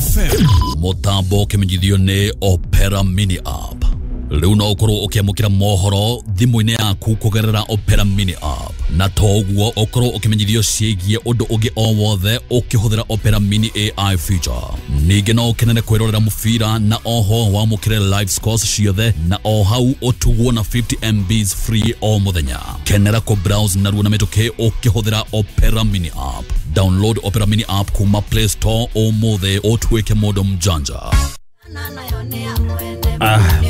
FM. Mũtambo ũkĩmenyithio nĩ Opera Mini App. Rĩu no ũkorwo ũkĩamũkĩra mohoro thimũ-inĩ yaku kũgerera Opera Mini App, na to ũguo ũkorwo ũkĩmenyithio ciĩgiĩ ũndũ ũngĩ o wothe ũkĩhũthĩra Opera Mini AI feature. Ningĩ no ũkenere kwĩrorera mũbira na oho wamũkĩre live scores ciothe na o hau ũtugwo na 50 MBs free o mũthenya. Kenera kũ browse narua na mĩtũkĩ ũkĩhũthĩra Opera Mini App. Download Opera Mini App kuma Play Store ũmũthĩ ũtuĩke mũndũ mjanja.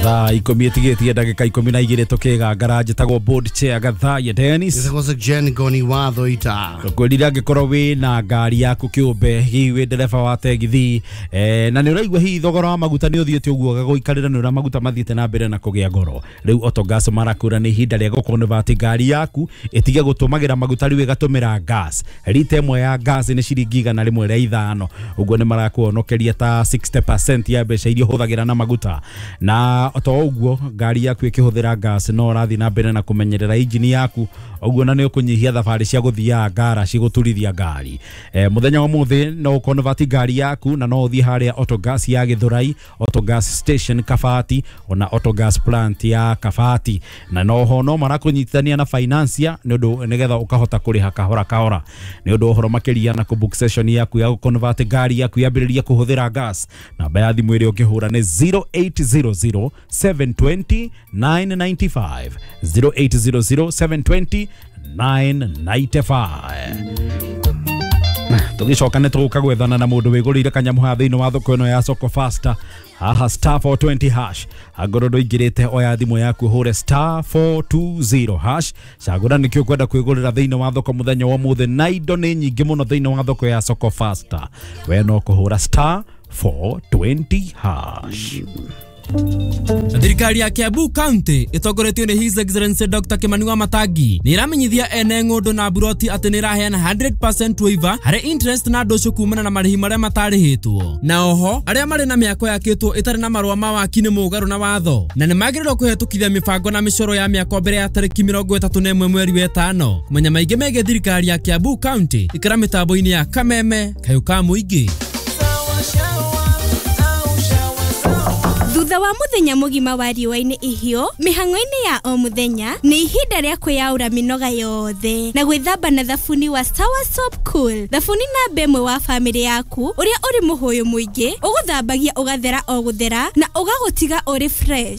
Thaa 10 ĩtigĩtie ndagĩka 12 tũkĩgangara. Njĩtagwo board chair Gathaya Dennis. Gĩtagwo Jen Goni watho ita. Kwĩrire angĩkorwo wĩna ngari yaku kĩũmbe, hihi wĩ ndereba wa tegithi, na nĩ ũraigua hihi thogora wa maguta nĩ ũthiĩte ũguo ũgagũikarĩra, nĩ ũrĩa maguta mathiĩte na mbere na kũgĩa goro. Rĩu Autogas marakwĩra nĩ ihinda rĩa gũconvert ngari yaku ĩtige gũtũmagĩra maguta, rĩu ĩgatũmĩra gas. Rita ĩmwe ya gas nĩ ciringi 105, ũguo nĩ marakuonokeria ta 60% ya mbeca iria ũhũthagĩra na maguta. Na to ũguo, ngari yaku ĩkĩhũthĩra gas no ũrathiĩ na mbere na kũmenyerera injini yaku, ũguo na nĩ ũkũnyihia thabarĩ cia gũthiaga ngaraci gũturithia ngari. Mũthenya wa ũmũthĩ no ũconvert ngari yaku na no ũthiĩ harĩa Autogas ya Gĩthũrai, Autogas station Kabati, ona Autogas plant ya Kabati, na noho no marakũnyitithania na financier nĩ ũndũ nĩgetha ũkahota kũrĩha kahora kahora. Nĩ ũndũ wa ũhoro makĩria na kũbook session yaku ya gũconvert ngari yaku yambĩrĩrie kũhũthĩra gas, namba ya thimũ ĩrĩa ũngĩhũra nĩ 0800 720 995, 0800 720 995. Tũgĩcoka nĩ tũgũka gwethana na mũndũ wĩgũrĩire kanyamũ haha thĩinĩ wa thoko ĩno ya Soko Fasta haha, star 420 hash. Angorwo ndũingĩrĩte, oya thimũ yaku ũhũre star 420 hash, cagũra nĩkĩo ũkwenda kwĩgũrĩra thĩinĩ wa thoko mũthenya wa ũmũthĩ, na indo nĩ nyingĩ mũno thĩinĩ wa thoko ya Soko Fasta. We no kũhũra star 420 hash. Thirikari ya Kiambu County ĩtongoretio nĩ His Excellency Dr. Kimani wa Matangi nĩ ĩramenyithia ene ng'ũndũ na mburoti atĩ nĩ ĩraheana 100% waiver harĩ interest na ndũcũ kumana na marĩhi marĩa matarĩhĩtwo. Na oho arĩa marĩ na mĩako yakĩtwo ĩtarĩ na marũa ma waki nĩ mũgarũ na watho na nĩ magĩrĩirwo kũhetũkithia mĩbango na mĩcoro ya mĩako mbere ya tarĩki 31 mweri wa ĩtano. Kũmenya maingĩ megiĩ thirikari ya Kiambu County, ikĩra mĩtambo-inĩ ya Kameme kayũ ka mũingĩ. Thutha wa muthenya mũgima wa riũa-inĩ ihiũ mĩhang'o-inĩ ya o mũthenya, nĩ ihinda rĩa kwĩyaũra mĩnoga yothe na gwĩthamba na thabuni wa Sawa Soap Cool, thabuni namba ĩmwe wa bamĩrĩ yaku, ũrĩa ũrĩ mũhũyũ mũingĩ ũgũthambagia ũgathera o gũthera na ũgagũtiga ũrĩ fresh.